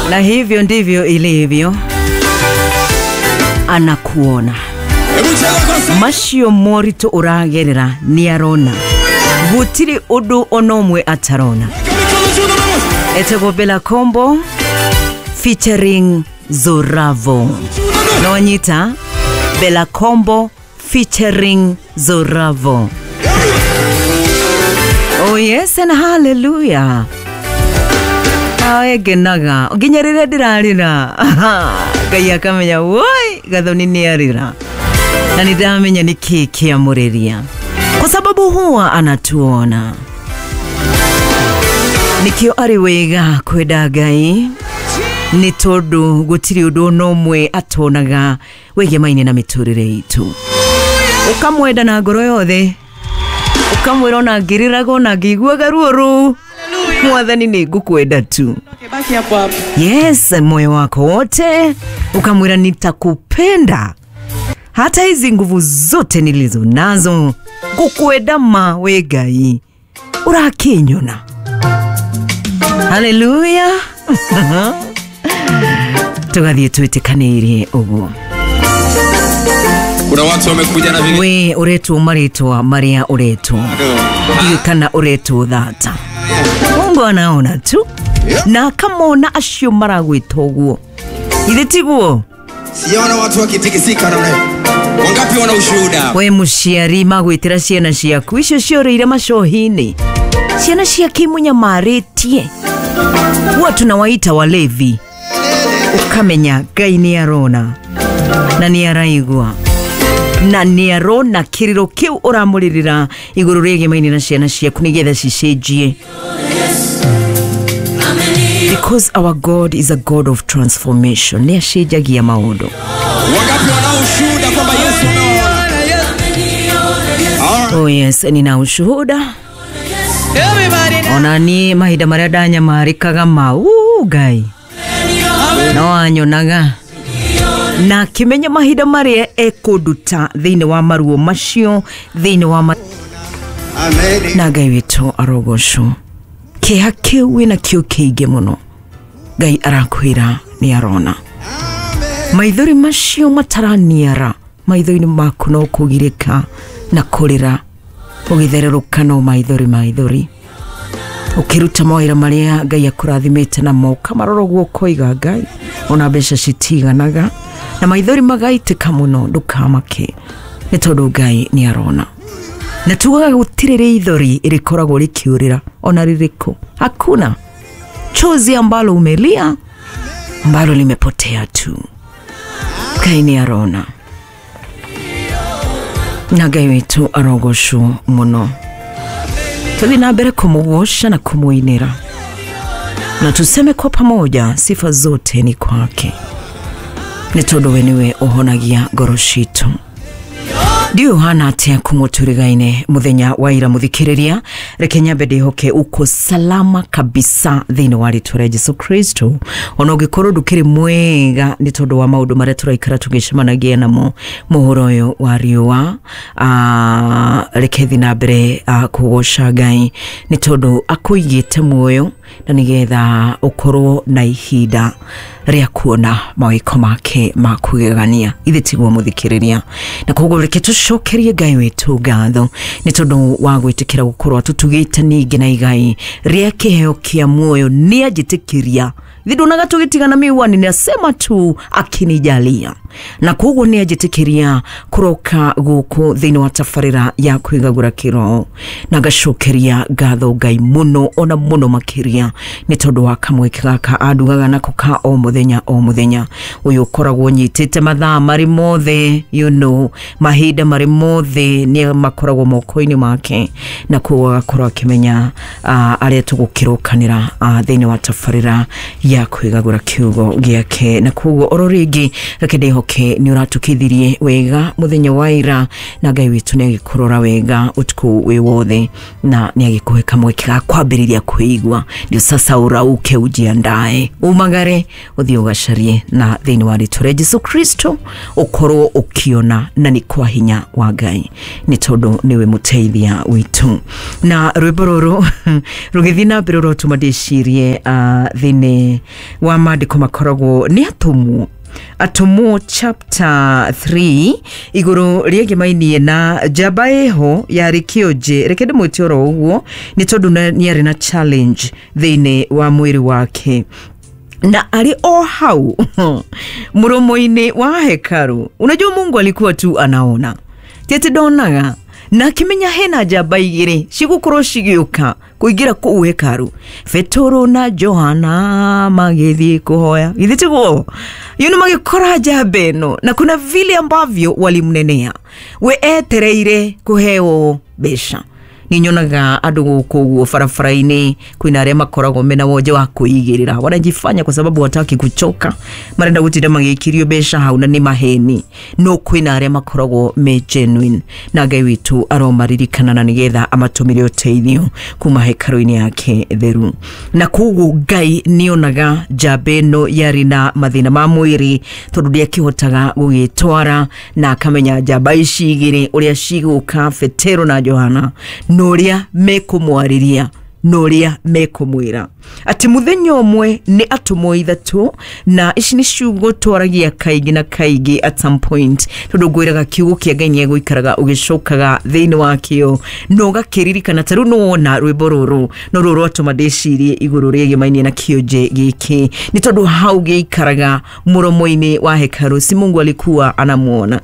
Na hivyo ndivyo ilivyo, anakuona. Macio moritũ ũragerera nĩ arona, gũtirĩ ũndũ ona ũmwe atarona. Etagwo Bella Kombo featuring Zoravo. Nonyita Bella Kombo featuring Zoravo. Oh yes and hallelujah. Awe ngenaga nginya rĩrĩa ndĩrarĩra, Ngai akamenya woi Gathoni nĩ arĩra, na nĩ ndamenya nĩ kĩĩ kĩamũrĩria, kwa sababu huwa anatuona. Nikio arĩ wega kwenda Ngai nĩ tondũ gũtirĩ ũndũ ona ũmwe atonaga wĩgemaine na mĩtũrĩre itũ. Ũkamwenda na ngoro yothe, ũkamwĩra ona ngĩrĩraga ona ngĩiguaga ruo rũu, Mwathani nĩ ngũkwenda tu. Baki hapo hapo. Yes, moyo wako wote ukamwira nitakupenda hata hizi nguvu zote nilizo nazo, ngukwenda ma we Ngai urakinyona. Haleluya. Tugathiĩ twĩtĩkanĩirie ũguo. Kuna watu wamekuja na vile We ũretwo marĩtwa marĩa ũretwo, ndiũĩ kana ũretwo thata. Mungu anaona tu na akamona acio maragwĩta ũguo, ithe tiguo? Sijaona watu wakitikisika namna hiyo. Wangapi wana ushuhuda? We mũciari magwĩtĩra ciana ciaku icio ciorĩire macohi-inĩ, ciana ciake imunyamarĩtie, huwa tunawaita walevi. Ukamenya Ngai nĩ arona na nĩ araigua na nĩ arona kĩrĩro kĩu ũramũrĩrĩra igũrũ rĩgemaine na ciana ciaku nĩgetha cicenjie. Because our God is a God of transformation. Nĩ acenjagia maũndũ. Wangapi wanao ushuhuda kwamba Yesu amewaona? All right. Oh yes, nina ushuhuda. Everybody now. Ona niĩ mahinda marĩa ndanyamarĩkaga mau Ngai no anyonaga na akĩmenya mahinda marĩa ekũnduta thĩinĩ wa maruo macio, thĩinĩ wa Amen. na Ngai witũ arogocwo. Kĩeha kĩu wĩna kĩo kĩingĩ mũno, Ngai arakwĩra nĩ arona. Maithori macio mataraniara maitho-inĩ maku no kũgirĩka na kũrĩra, ũgĩthererũka no maithori maithori, ũkĩruta mawĩra marĩa Ngai akũrathimĩte namo, ũkamarora ũguo ũkoiga Ngai ona mbeca citiganaga, na maithori magaitĩka mũno. Ndũkamake nĩ tondũ Ngai nĩ arona. Na tugaga gũtirĩ rĩithori rĩkoragwo rĩkĩũrĩra ona rĩrĩkũ, hakuna chozi ambalo umelia ambalo limepotea tu. Ngai nĩ arona na Ngai witũ arogocwo mũno. Tũthiĩ na mbere kũmũgoca na kũmũinĩra, na tuseme kwa pamoja sifa zote ni kwake, nĩ tondũ we nĩwe ũhonagia ngoro citũ. Ndiũĩ ũhana atĩa kumũtũrĩgaine mũthenya wa ira mũthikĩrĩria, reke nyambe ndĩhoke uko salama kabisa thĩinĩ wa rĩtwa rĩa Jesu Kristo. Ona ũngĩkorwo ndũkĩrĩ mwega nĩ tondũ wa maũndũ marĩa tũraikara tũgĩcemanagia namo mũhuro ũyũ wa riũa, reke thiĩ na mbere kũgoca Ngai nĩ tondũ akũigĩte muoyo na nĩgetha ũkorwo na ihinda rĩa kuona mawĩko make ma kũgegania. Ithe tiguo mũthikĩrĩria, na koguo reke tũcokerie Ngai witũ ngatho nĩ tondũ wa gwĩtĩkĩra gũkorwo atũtugĩte ningĩ na igai rĩa kĩheo kĩa muoyo. Nĩ anjĩtĩkĩria ithe ndonaga tũgĩtigana miwani, nĩ asema tu akinijalia, na koguo nĩ anjĩtĩkĩria kũroka gũkũ thĩinĩ wa tabarĩra ya kwĩgagũra kĩroho, na ngacokeria ngatho Ngai mũno ona mũno makĩria nĩ tondũ wa kamweke gaka andugaga nako ka o mũthenya o mũthenya. Ũyũ ũkoragwo nyitĩte mathaa marĩ mothe, you know, mahinda marĩ mothe nĩ makoragwo moko-inĩ make, na koguo agakorwo akĩmenya arĩa tũgũkĩrokanĩra thĩinĩ wa tabarĩra ya kwĩgagũra kiugo gĩake. Na koguo oro rĩngĩ reke ndĩhoke nĩ ũratũkithirie wega mũthenya wa ira, na Ngai witũ nĩ agĩkũrora wega ũtukũ wĩ wothe, na nĩ agĩkũhe kamweke ga kwambĩrĩria kwĩigua. Ndio sasa urauke ujiandae, umagare ũthiĩ ũgacarie, na thĩinĩ wa rĩtwa rĩa Jesu Kristo ũkorwo ũkĩona, na nĩ kwa hinya wa Ngai nĩ tondũ nĩwe mũteithia witũ. Na rwĩmbo rũrũ rũgĩthiĩ na mbere ũrotũma ndĩcirie thĩinĩ Wa maandĩko makoragwo nĩ atũmwo, Atũmwo chapter 3, igũrũ rĩegemainie na njamba ĩho yarĩ kĩonje. Reke ndĩmwĩte oro ũguo nĩ tondũ nĩ arĩ na challenge thĩinĩ wa mwĩrĩ wake, na arĩ o hau mũromo-inĩ wa hekaru. Unajua Mungu alikuwa tu anaona, ti atĩ ndonaga, na akĩmenya hena njamba igĩrĩ cigũkorwo cigĩũka kũingĩra kũu hekaru, Petero na Johana magĩthiĩ kũhoya, githĩ tiguo? Yuno magĩkora njamba ĩno, na kuna vile ambavyo walimnenea. We etereire kũheo mbeca. Nĩ nyonaga andũ gũkũ ũguo barabara-inĩ, kwĩna arĩa makoragwo mena wonje wa kwĩigĩrĩra, wanajifanya kwa sababu wataki kuchoka, marenda gũtinda magĩkirio mbeca hau, na nĩ maheni. No kwĩna arĩa makoragwo me genuine, na Ngai witũ aromaririkana na nĩgetha amatũmĩre ũteithio kuma hekarũ-inĩ yake theru. Na koguo Ngai nĩonaga njamba ĩno yarĩ na mathĩna ma mwĩrĩ, tondũ ndĩakĩhotaga gũgĩtwara, na akamenya njamba ici igĩrĩ ũrĩa cigũka, Petero na Johana, na ũrĩa mekũmwarĩria na ũrĩa mekũmwĩra. Atĩ mũthenya ũmwe nĩ atũmwo ithatũ, na ici nĩ ciugo twaragia kaingĩ na kaingĩ at some point, tondũ ngwĩraga kiugo kĩa Ngai nĩ egũikaraga ũgĩcokaga thĩinĩ wakĩo na ũgakĩririkana. Ta rĩu nĩwona rwĩmbo rũrũ no rũrũ rwatũma ndĩcirie igũrũ rĩegemainie na kĩonje gĩkĩ, nĩ tondũ hau gĩikaraga mũromo-inĩ wa hekarũ. Si Mungu alikuwa anamuona?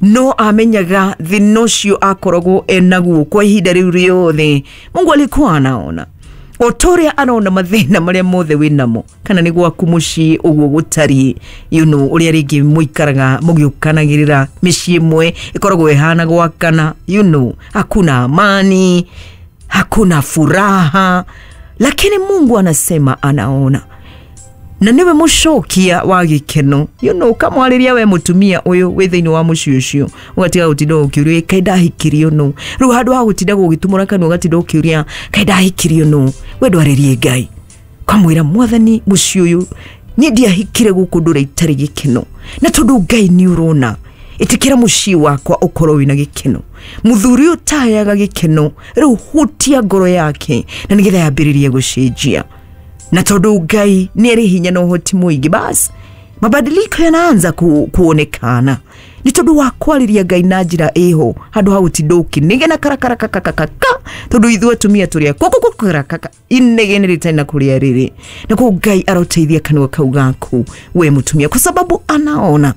No amenyaga thĩna ũcio akoragwo enaguo kwa ihinda rĩu rĩothe. Mungu alikuwa anaona o ta ũrĩa arona mathĩna marĩa mothe wĩnamo, kana nĩ gwaku mũciĩ ũguo gũtariĩ, ũrĩa rĩngĩ mũikaraga mũgĩũkanagĩrĩra, mĩciĩ ĩmwe ĩkoragwo ĩhana gwakana, hakuna amani, hakuna furaha, lakini Mungu anasema anaona na niwe mũcokia wa gĩkeno. Ũkamwarĩria we mũtumia ũyũ wĩ thĩinĩ wa mũciĩ ũcio, ũgatiga gũtinda ũkĩũria, "Kaĩ ndahikirio nũ?" Rĩu handũ ha gũtinda gũgĩtumũra kanua ũgatinda ũkĩũria, "Kaĩ ndahikirio nũ?" We ndwarĩrie Ngai, ũkamwĩra, "Mwathani, mũciĩ ũyũ niĩ ndiahikire gũkũ ndũra itarĩ gĩkeno, na tondũ Ngai nĩ ũrona, ĩtĩkĩra mũciĩ wakwa ũkorwo wĩna gĩkeno. Mũthuri ũyũ ũtaheaga gĩkeno, rĩu hutia ngoro yake na nĩgetha yambĩrĩrie gũcenjia." Na tondũ Ngai nĩ arĩ hinya na ũhoti mũingĩ, basi mabadiliko yanaanza kuonekana nĩ tondũ wa kwarĩria Ngai na njĩra ĩho, handũ ha gũtinda ũkĩnegena karakarakakakaka, tondũ ithuĩ atumia tũrĩ kũkũkũkarakaka, inegene rĩtarĩ na kũrĩa rĩrĩ. Na koguo Ngai aroteithia kanua kau gaku we mũtumia, kwa sababu anaona.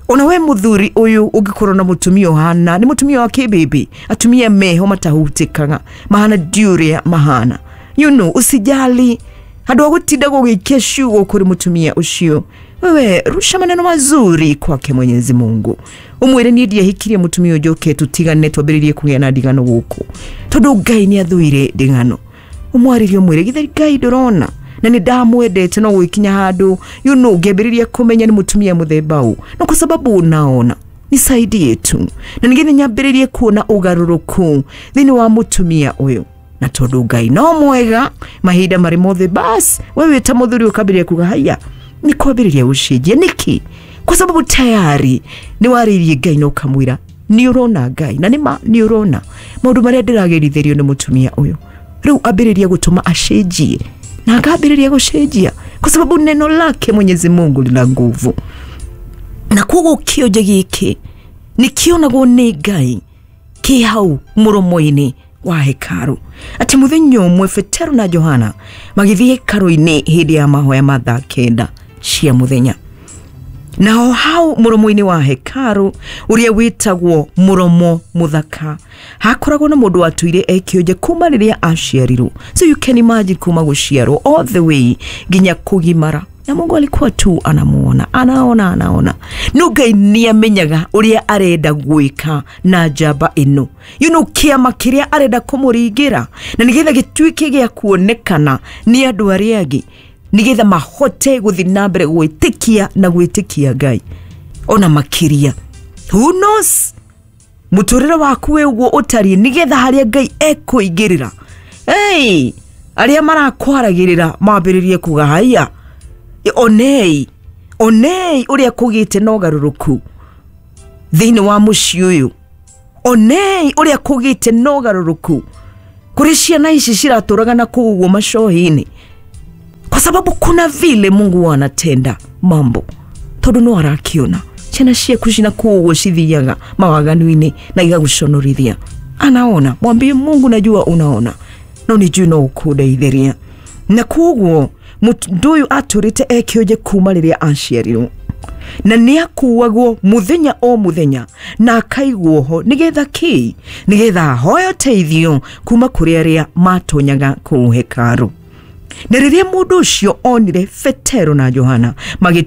Ona we mũthuri ũyũ ũngĩkorwo na mũtumia ũhana nĩ mũtumia wa kĩbĩbĩ, atumia meho matahutĩkaga, mahana ndiũrĩa mahana, usijali. Handũ ha gũtinda gũgĩikia ciugo kũrĩ mũtumia ũcio, wewe rusha maneno mazuri kwake Mwenyezi Mungu, ũmwĩre, "Niĩ ndiahikirie mũtumia ũyũ njoke tũtigane, twambĩrĩrie kũgĩa na ndigano gũkũ, tondũ Ngai nĩ athũire ndigano." Ũmwarĩrie, ũmwĩre, "Githĩ Ngai ndũrona na nĩ ndamwendete, no gwĩkinya handũ ngĩambĩrĩria kũmenya nĩ mũtumia mũthemba ũũ, no kwa sababu unaona, nisaidie tu na nĩgetha nyambĩrĩrie kuona ũgarũrũku thĩinĩ wa mũtumia ũyũ." Na tondũ Ngai no mwega mahinda marĩ mothe, bas wewe ta mũthuri ũkambĩrĩria kuga, "Haya, nĩ kwambĩrĩria gũcenjia." Nĩkĩ? Kwa sababu tayari nĩ warĩirie Ngai na ũkamwĩra, "Nĩ ũrona Ngai, na nĩma nĩ ũrona maũndũ marĩa ndĩragerithĩrio nĩ mũtumia ũyũ, rĩu ambĩrĩria gũtũma acenjie." Na akambĩrĩria gũcenjia kwa sababu neno lake Mwenyezi Mungu lina nguvu. Na koguo kĩonje gĩkĩ nĩ kĩonagwo nĩ Ngai kĩ hau mũromo-inĩ wa hekaru. Atĩ mũthenya ũmwe Petero na Johana magĩthiĩ hekaru-inĩ hĩndĩ ya mahoya ma thaa 9 cia mũthenya, naho hau mũromo-inĩ wa hekaru ũrĩa wĩtagwo Mũromo Mũthaka hakoragwo na mũndũ watũire ekĩonje kuma rĩrĩa aciarirwo. So you can imagine, kuma gũciarwo all the way nginya kũgimara, na Mungu alikuwa tu anamuona, anaona, anaona. No Ngai nĩ amenyaga ũrĩa arenda gwĩka na njamba ĩno, kĩama kĩrĩa arenda kũmũringĩra, na nĩgetha gĩtuĩke gĩa kuonekana nĩ andũ arĩa angĩ, nĩgetha mahote gũthiĩ na mbere gwĩtĩkia na gwĩtĩkia Ngai ona makĩria. Who knows, mũtũrĩre waku wĩ ũguo ũtariĩ, nĩgetha harĩa Ngai ekũingĩrĩra, hey, arĩa marakwaragĩrĩra mambĩrĩrie kuga, "Haiya, onei, onei ũrĩa kũgĩte na ũgarũrũku thĩinĩ wa mũciĩ ũyũ, onei ũrĩa kũgĩte na ũgarũrũku kũrĩ ciana ici ciratũraga na kũu ũguo macohi-inĩ." Kwa sababu kuna vile Mungu anatenda mambo tondu no arakiona ciana ciaku cina kũu cithiaga mawaganu-inĩ na igaguconorithia. Anaona, mwambie Mungu, najua unaona no nĩ njũĩ no ũkũndeithĩria. Na koguo mũndũ ũyũ atũrĩte ekĩonje kuma rĩrĩa aciarirwo, na nĩ akuagwo mũthenya o mũthenya na akaigwo ho nĩgetha kĩ? Nĩgetha ahoe ũteithio kuma kũrĩ arĩa matonyaga kũu hekarũ. Na rĩrĩa mũndũ ũcio onire Petero na Johana magĩ